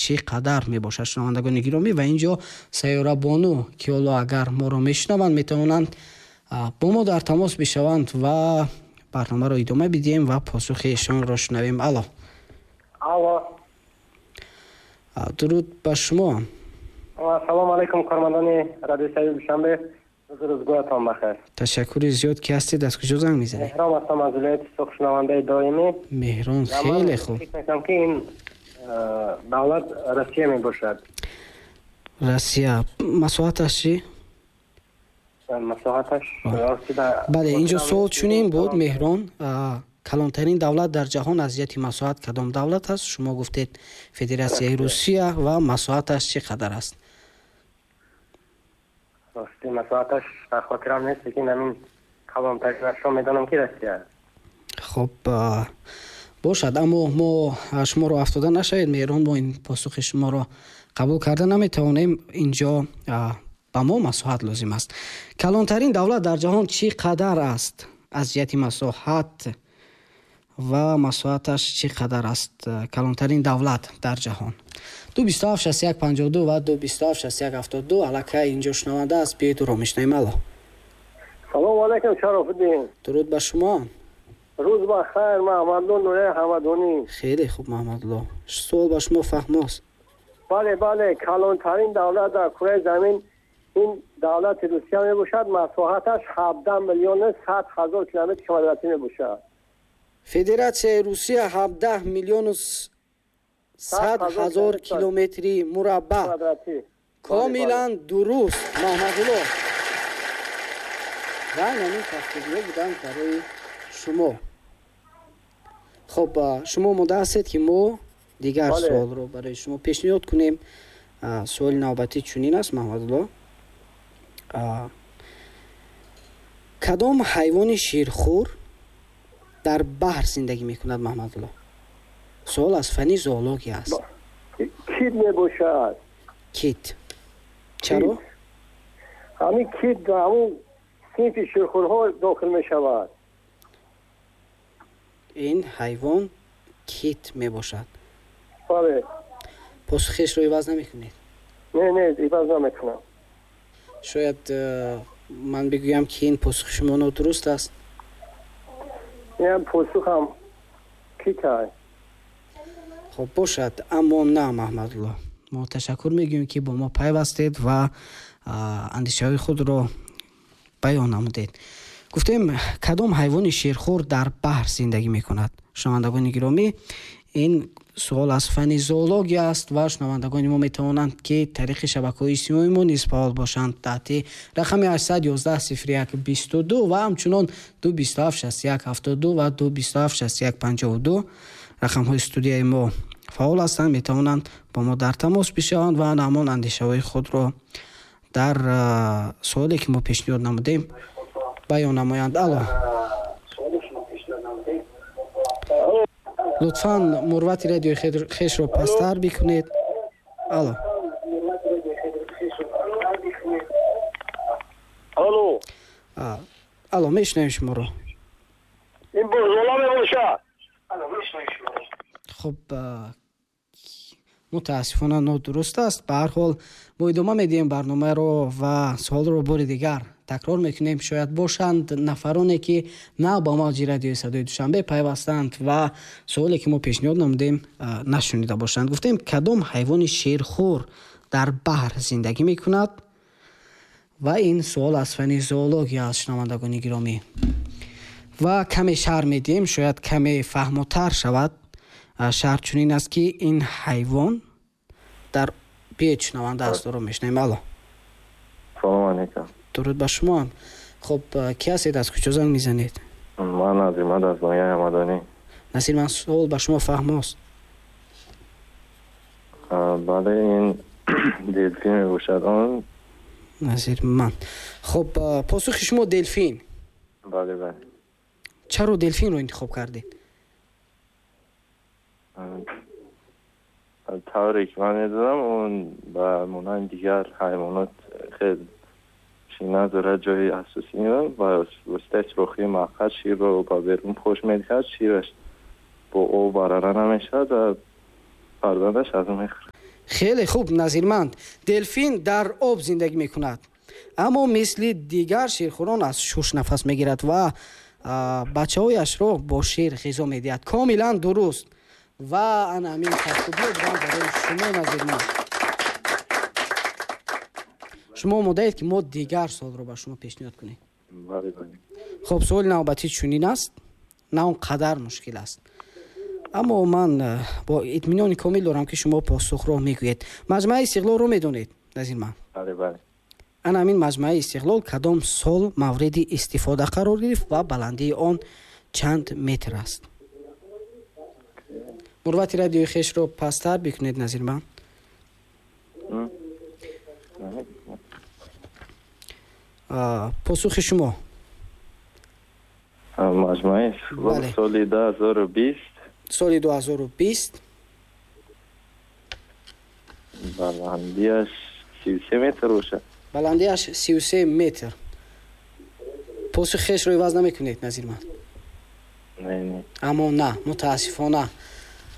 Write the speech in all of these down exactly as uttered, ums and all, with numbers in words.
чӣ қадар мебошад, шунавандагони гиромӣ? Ва ин ҷо Сайёра Бону, ки ҳоло агар моро мешунаванд, метавонанд бо мо дар тамос бишаванд ва барномаро идома бидиҳем ва посухи эшонро шунавем. Алло. Алло. Дуруд ба шумо. Салом алайкум, кормандони радиои Садои Душанбе. Рӯзгоратон бахайр. Ташаккури зиёд. Ки ҳастед, аз куҷо занг мезанед? Меҳрон ҳастам аз вилояти Суғд, шунавандаи доимӣ. Меҳрон, хеле хуб. Фикр мекунам, ки ин давлат Россия мебошад. Россия. Масоҳаташ чӣ? Масоҳаташ бале, инҷо суол чунин буд, Меҳрон: калонтарин давлат дар ҷаҳон аз ҷиҳати масоҳат кадом давлат аст? Шумо гуфтед Федератсияи Русия, ва масоҳаташ чӣ қадар аст? Рости, масоҳаташ дар хотирам нест, лекин ҳамин калонтаринашро медонам, ки Россия. Хуб бошад, аммо мо шуморо афтода нашавед, Меҳрон, мо ин посухи шуморо қабул карда наметавонем. Инҷо ба мо масоҳат лозим аст. Калонтарин давлат дар ҷаҳон чӣ қадар аст аз ҷиҳати масоҳат ва масоҳаташ чӣ қадар аст? Калонтарин давлат дар ҷаҳон. Ду бисту ҳафт шасту як панҷоҳу ду ва ду бисту ҳафт шасту як ҳафтоду ду. Аллакай инҷо шунаванда аст, биёед ӯро мешунавем. Алло. Салому алайкум, Шарофуддин. Дуруд ба шумо. Рӯз ба хайр, Маҳмадло Нурияи Ҳамадонӣ. Хеле хуб, Маҳмадло, суол ба шумо фаҳмост. Бале, бале, калонтарин давлат дар кураи замин ин давлати Русия мебошад. Масоҳаташ ҳабдаҳ миллиону сад ҳазор километри квадратӣ мебошад. Федератсияи Русия ҳабдаҳ миллиону сад ҳазор километри мураббаъ. Комилан дуруст, Маҳмадулло. Ва ҳамин тафсирҳо буданд барои шумо. Хуб, шумо омода ҳастед, ки мо дигар суолро барои шумо пешниҳод кунем? Суоли навбатӣ чунин аст, Маҳмадулло: кадом ҳайвони ширхӯр дар баҳр зиндагӣ мекунад, Маҳмадулло? Суол аз фанни зоология аст. Кит мебошад. Кит. Чаро? Ҳамин кит ҳамун синфи ширхӯрҳо дохил мешавад. Ин ҳайвон кит мебошад. Бале. Посухешро иваз намекунед? Не, не, иваз намекунам. Шояд ман бигӯям, ки ин посухи шумо нодуруст аст. Ин посухам кит аст. Хуб бошад, аммо на, Маҳмадулло. Мо ташаккур мегӯем, ки бо мо пайвастед ва андешаҳои худро баён намудед. Гуфтем, кадом ҳайвони ширхӯр дар баҳр зиндагӣ мекунад? Шунавандагони гиромӣ, ин суол аз фанни зоология аст ва шунавандагони мо метавонанд, ки тариқи шабакаҳои иҷтимоии мо низ фаъол бошанд таҳти рақами ҳаштсад ёздаҳ сифр як бисту ду ва ҳамчунон ду бисту ҳафт шасту як ҳафтоду ду ва ду бисту ҳафт шасту як панҷоҳу ду. Рақамҳои студияи мо фаъол ҳастанд, метавонанд бо мо дар тамос бишаванд ва ҳамон андешаҳои худро дар суоле, ки мо пешниҳод намудем, баён намоянд. Алло. Лутфан мурвати радиои хешро пасттар бикунед. Алло. Алло. Алло, мешунавем шуморо. Ин Бурзола мебошад. Хуб, мутаассифона нодуруст аст. Ба ҳар ҳол, мо идома медиҳем барномаро ва суолро бори дигар такрор мекунем. Шояд бошанд нафароне, ки нав ба мавҷи радиои Садои Душанбе пайвастанд ва суоле, ки мо пешниҳод намудем, нашунида бошанд. Гуфтем, кадом ҳайвони шерхӯр дар баҳр зиндагӣ мекунад? Ва ин суол аз фанни зоология аст, шунавандагони гиромӣ. Ва каме шарҳ медиҳем, шояд каме фаҳмотар шавад. Шарҳ чунин аст, ки ин ҳайвон дар биёед, шунаванда аст, ӯро мешунавем. Алло. Салом алайкум. Дуруд ба шумо. Хуб, ки ҳастед, аз куҷо занг мезанед? Ман Назирмад аз ноҳияи Ҳамадонӣ. Насир, ман суол ба шумо фаҳмост. Бале, ин делфин мебошад он. Назирман, хуб, посухи шумо делфин? Бале, бале. Чаро делфинро интихоб кардед? Тавре ки ман медонам, он ба монанди дигар ҳайвонот хеле чӣ надорад, ҷои асосӣ ва воситаи сӯрохии маққад ширро ба берун пош медиҳад, шираш бо об барара намешавад ва фарзандаш аз он мехӯрад. Хеле хуб, Назирманд. Делфин дар об зиндагӣ мекунад, аммо мисли дигар ширхӯрон аз шуш нафас мегирад ва бачаҳояшро бо шир ғизо медиҳад. Комилан дуруст. Ва ана ҳамин кафкӯбиҳо буданд барои шумо, Назирманд. Шумо омодаед, ки мо дигар суолро ба шумо пешниҳод кунем? Бале, бале. Хуб, суоли навбатӣ чунин аст, на он қадар мушкил аст, аммо ман бо итминони комил дорам, ки шумо посухро мегӯед. Маҷмӯаи Истиқлолро медонед, Назирманд? Бале, бале. Ана ҳамин Маҷмӯаи Истиқлол кадом сол мавриди истифода қарор гирифт ва баландии он чанд метр аст? Мурвати радиои хешро пасттар бикунед, Назирманд. Посухи шумо? Маҷмӯаи Истиқлол соли ду ҳазору бист. Соли ду ҳазору бист. Баландиаш сию се метр бошад. Баландиаш сию се метр. Посухи хешро иваз намекунед, Назирманд? Не, не. Аммо на, мутаассифона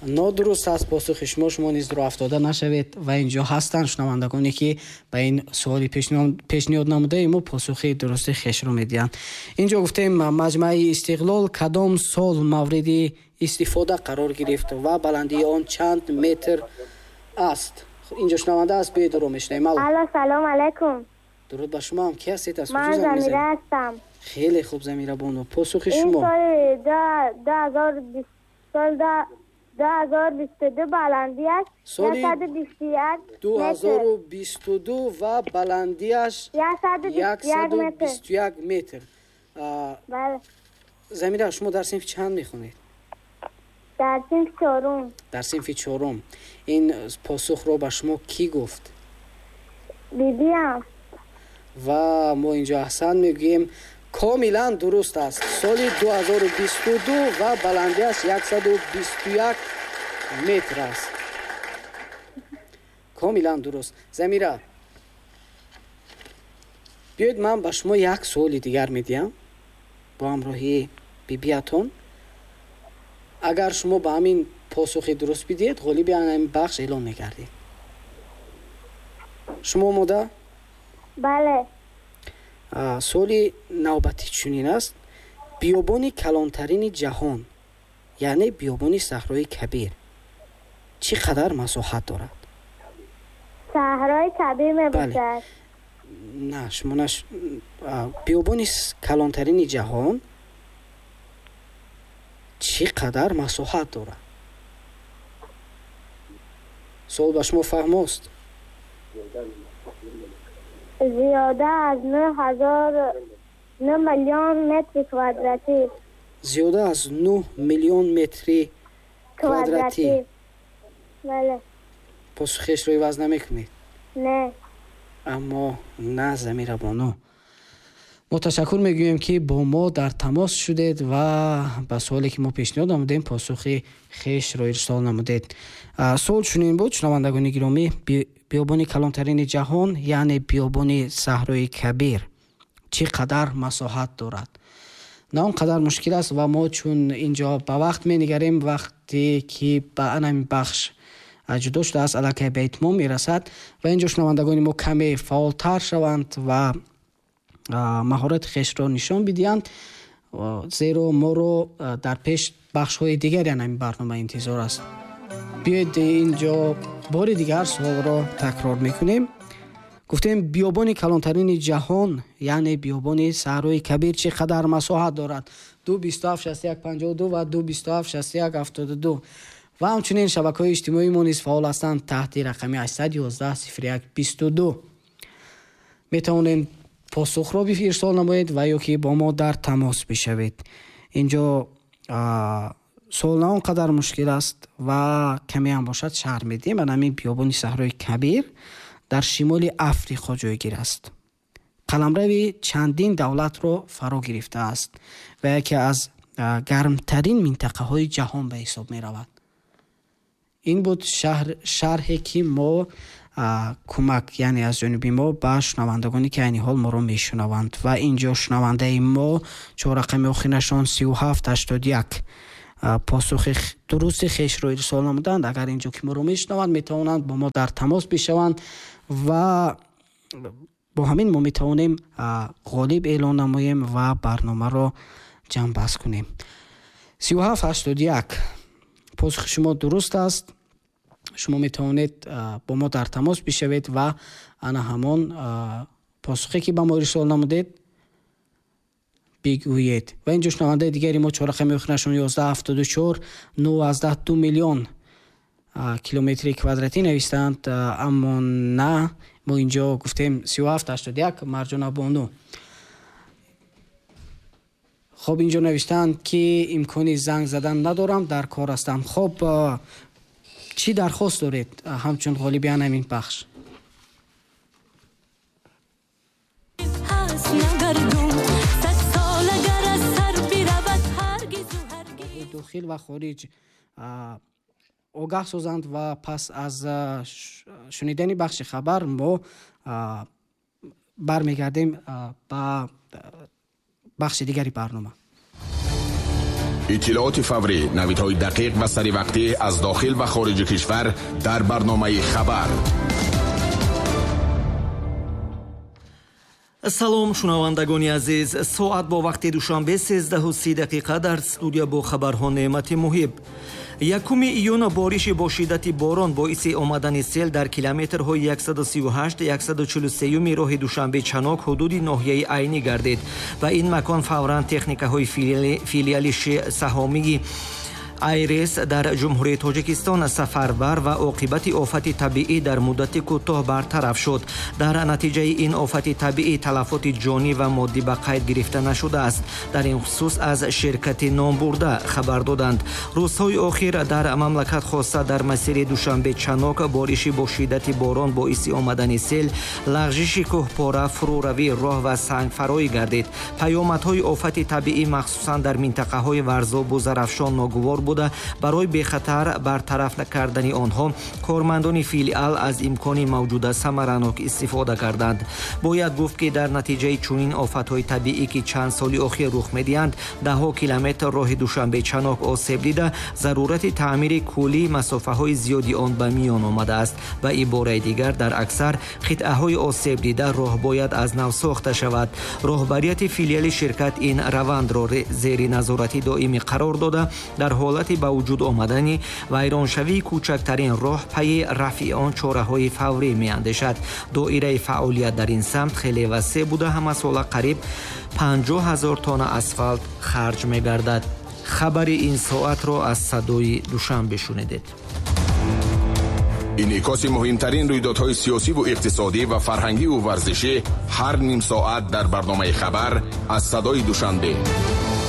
нодуруст аст посухи шумо. Шумо низ роҳ афтода нашавед ва инҷо ҳастанд шунавандагоне, ки ба ин суоли пешниҳод намудаи мо посухи дурусти хешро медиҳанд. Инҷо гуфтем, Маҷмӯаи Истиқлол кадом сол мавриди истифода қарор гирифт ва баландии он чанд метр аст? Инҷо шунаванда аст, биёед ӯро мешунавем. Алло. Алло, салом алайкум. Дуруд ба шумо. Ҳам ки ҳастед? Аз куҷо занг мезанед? Ман Замира ҳастам. Хеле хуб, Замира бону, посухи шумо? Ин соли ду ҳазору бист, сол ду ҳазору бисту ду, баландиаш яксаду бисту як метр. Ду ҳазору бисту ду ва баландиаш яксаду бисту як метр. Бале. Замира, шумо дар синфи чанд мехонед? Дар синфи чорум. Дар синфи чорум. Ин посухро ба шумо кӣ гуфт? Бибиам. Ва мо инҷо аҳсан мегӯем, комилан дуруст аст. Соли ду ҳазору бисту ду ва баландиаш яксаду бисту як метр аст. Комилан дуруст. Замира, биёед ман ба шумо як суоли дигар медиҳам бо ҳамроҳии бибиятон. Агар шумо ба ҳамин посухи дуруст бидиҳед, ғолиби ҳамин бахш эълон мегардед. Шумо омода? Бале. Суоли навбатӣ чунин аст: биёбони калонтарини ҷаҳон, яъне биёбони Саҳрои Кабир, чӣ қадар масоҳат дорад? Саҳрои Кабир мебошад. На, шумо наш... биёбони калонтарини ҷаҳон чӣ қадар масоҳат дорад? Суол ба шумо фаҳмост? Зиёда аз нӯҳ ҳазор нӯҳ миллион метри квадратӣ. Зиёда аз нӯҳ миллион метри квадратӣ. Бале. Посухешро иваз намекунед? Не. Аммо на, Замира бону. Мо ташаккур мегӯем, ки бо мо дар тамос шудед ва ба суоле, ки мо пешниҳод намудем, посухи хешро ирсол намудед. Суол чунин буд, шунавандагони гиромӣ: биёбони калонтарини ҷаҳон, яъне биёбони Саҳрои Кабир, чӣ қадар масоҳат дорад? На он қадар мушкил аст ва мо чун инҷо ба вақт менигарем, вақте ки ба ҳамин бахш ҷудо шудааст, аллакай ба итмом мерасад ва инҷо шунавандагони мо каме фаъолтар шаванд ва маҳорати хешро нишон бидиҳанд, зеро моро дар пеш бахшҳои дигари ҳамин барнома интизор аст. Биёед инҷо бори дигар суолро такрор мекунем. Гуфтем, биёбони калонтарини ҷаҳон, яъне биёбони Саҳрои Кабир, чӣ қадар масоҳат дорад? Ду бисту ҳафт шасту як панҷоҳу ду ва ду бисту ҳафт шасту як ҳафтоду ду. Ва ҳамчунин шабакаҳои иҷтимоии мо низ фаъол ҳастанд таҳти рақами ҳаштсаду ёздаҳ сифр як бисту ду. Метавонед посухро ирсол намоед ва ё ки бо мо дар тамос бишавед. Инҷо суол на он қадар мушкил аст ва каме ҳам бошад шарҳ медиҳем. Ана ҳамин биёбони Саҳрои Кабир дар шимоли Африқо ҷойгир аст. Қаламрави чандин давлатро фаро гирифтааст ва яке аз гармтарин минтақаҳои ҷаҳон ба ҳисоб меравад. Ин буд шарҳе, ки мо кӯмак, яъне аз ҷониби мо ба шунавандагоне, ки айни ҳол моро мешунаванд. Ва инҷо шунавандаи мо чор рақами охирашон сию ҳафт ҳаштоду як посухи дурусти хешро ирсол намуданд, агар инҷо ки моро мешунаванд, метавонанд бо мо дар тамос бишаванд ва бо ҳамин мо метавонем ғолиб эълон намоем ва барномаро ҷамъбаст кунем. Сию ҳафт ҳаштоду як посухи шумо дуруст аст. Шумо метавонед бо мо дар тамос бишавед ва ана ҳамон посухе ки ба мо ирсол намудед бигӯед. Ва инҷо шунавандаи дигари мо чор рақами охирашон ёздаҳ ҳафтоду чор нӯҳ аз даҳ ду миллион километри квадратӣ навиштаанд, аммо на, мо инҷо гуфтем сию ҳафт ҳаштоду як Марҷона Бону. Хоб, инҷо навиштаанд ки имкони занг задан надорам, дар кор ҳастам. Хоб, чӣ дархост доред ҳамчун ғолиби ҳамин бахш? Дохил ва хориҷ огаҳ созанд ва пас аз шунидани бахши хабар мо бармегардем ба бахши дигари барнома. Иттилооти фаврӣ, навидҳои дақиқ ва саривақтӣ аз дохил ва хориҷи кишвар дар барномаи хабар. Салом шунавандагони азиз, соат бо вақти душанбе сездаҳу си дақиқа дар студия бо хабарҳо Неъмати Муҳиб. Якуми июн бориши бо шиддати борон боиси омадани сел дар километрҳои яксаду сию ҳашт яксаду чилу сеюми роҳи Душанбе Чанок ҳудуди ноҳияи Айнӣ гардид. Ба ин макон фавран техникаҳои филиали саҳомии Айрес дар Ҷумҳурии Тоҷикистон сафарбар ва оқибати офати табиӣ дар муддати кӯтоҳ бартараф шуд. Дар натиҷаи ин офати табиӣ талафоти ҷонӣ ва моддӣ ба қайд гирифта нашудааст. Дар ин хусус аз ширкати номбурда хабар доданд. Рӯзҳои охир дар мамлакат, хоса дар масири Душанбе Чанок, бориши бо шиддати борон боиси омадани сел, лағжиши кӯҳпора, фурӯравии роҳ ва сангфароӣ гардид. Паёмадҳои офати табиӣ махсусан дар минтақаҳои Варзобу Зарафшон ногувор буда, барои бехатар бартараф кардани онҳо кормандони филиал аз имкони мавҷуда самаранок истифода карданд. Бояд гуфт, ки дар натиҷаи чунин офатҳои табиӣ, ки чанд соли охир рух медиҳанд, даҳҳо километр роҳи Душанбе Чанок осеб дида, зарурати таъмири куллии масофаҳои зиёди он ба миён омадааст. Ба ибораи дигар, дар аксар қитъаҳои осеб дида роҳ бояд аз нав сохта шавад. Роҳбарияти филиали ширкат ин равандро зери назорати доимӣ қарор дода, дар ҳолати ба вуҷуд омадани вайроншавии кӯчактарин роҳ пайи рафъи он чораҳои фаврӣ меандешад. Доираи фаъолият дар ин самт хеле васеъ буда, ҳамасола қариб панҷоҳ ҳазор тонна асфалт харҷ мегардад. Хабари ин соатро аз садои Душанбе шунидед. Инъикоси муҳимтарин рӯйдодҳои сиёсиву иқтисодӣ ва фарҳангиву варзишӣ ҳар ним соат дар барномаи хабар аз садои Душанбе.